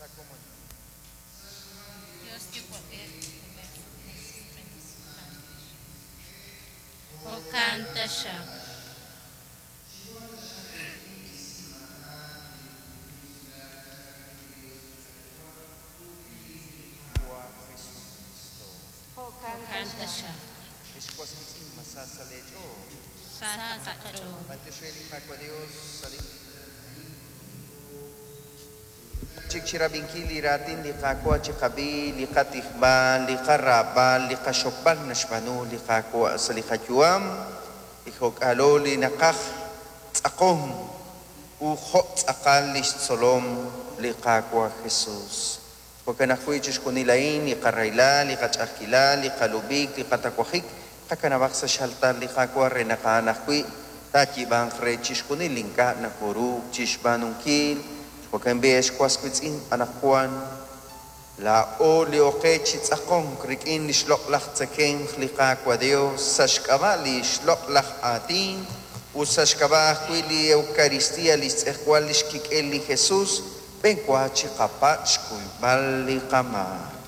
Sa' komonil. Dios Yuwa'b'ej, K'ajolb'ej, ut Musiq'ej. Jo'kan taxaq. Wa Jesucristo. Jo'kan taxaq. Ex was wiitz'in, ma sa sa' lee ch'ool? Sa sa' qach'ool. B'antiox re li Qaawa' Dios sa' li Chik chirab'inkil li raatin li Qaawa' chiqab'i li qatijb'al, li qaraab'al, li qaxokb'al naxb'aanu li Qaawa' sa' li qayu'am, li jo'k'aalo li naqaj tz'aqonk u jo' tz'aqal lix tzolom li Qaawa' Jesus. Jo'kan ajwi' chixjunil a'in, li qarahilal, li qach'a'ajkilal, li qalub'ik, li qatawajik, qakanab'aq sa' xaltar li Qaawa' re naq a'an ajwi' taayiib'anq re chixjunil li ink'a' nokoruuk chixb'aanunkil. Jo'kan b'i' ex was wiitz'in, anaqwan laa'o li oqe chi tz'aqonk rik'in li xloq'laj tzekemq li Qaawa' Dios sa' xk'ab'a' li xloq'laj aatin ut sa' xk'ab'a' ajwi' li Eucaristía, li xtz'ejwal li xkik'el li Jesus, b'enwa chiqapatz' xkuyb'al li qamaak.